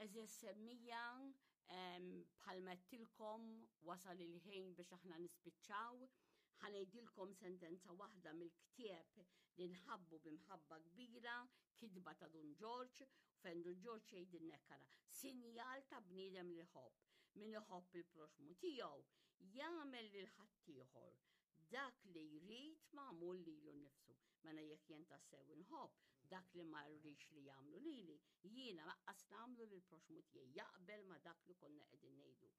Eżis semmija bħalma għedtilkom wasal il-ħin biex aħna nispiċċaw. Ħanejdilkom sentenza waħda mill-ktieb li nħabbu b'imħabba kbira, kitba ta' Dun Ġorġ, fejn Dun Ġorġ jgħidilna ara, sinjal ta' bniedem li ħobb. Min iħobb il-proxmu tiegħu jagħmel lil ħaddieħor dak li jrid magħmul lilu nnifsu. Mela jekk jien tassew inħobb dak li ma rridx li jagħmlu lili, jiena laqqas nagħmlu lil proxmu tiegħi jaqbel ma dak li konna qegħdin ngħidu.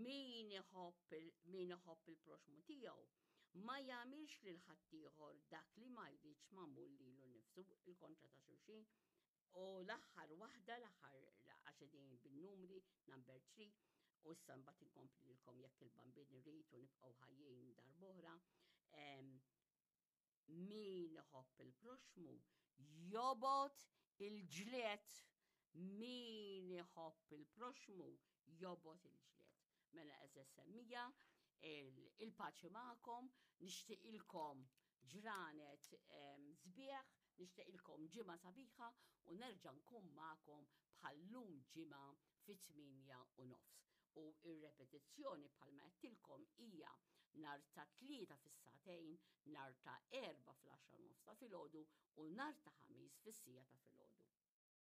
Min iħobb min iħobb il-proxmu tiegħu ma jagħmilx lil ħaddieħor dak li ma jridx magħmul lilu nnifsu il-kontra ta' xulxin. U l-aħħar waħda, l-aħħar għax qegħdin bin-numri, number 3, u issa mbagħad inkompli lilkom jekk il-bambin irid u nibqgħu ħajjin darb'oħra. Min iħobb il-proxmu jobgħod il-ġlied. Min iħobb il-proxmu jobgħod il-ġlied. Mela eżess semmija, il-paċi magħkom, nixtieqilkom ġranet sbieħ, nixtieqilkom ġimgħa sabiħa u nerġa' nkun magħkom bħal-lum ġimgħa fit-8:30. U ir-repetizzjoni bħalma għedtilkom hija nhar ta' Tlieta fis-sagħtejn, nhar ta' Erbgħa fl-10:30 ta' filgħodu u nhar ta' Ħamis fis-siegħa ta' filgħodu.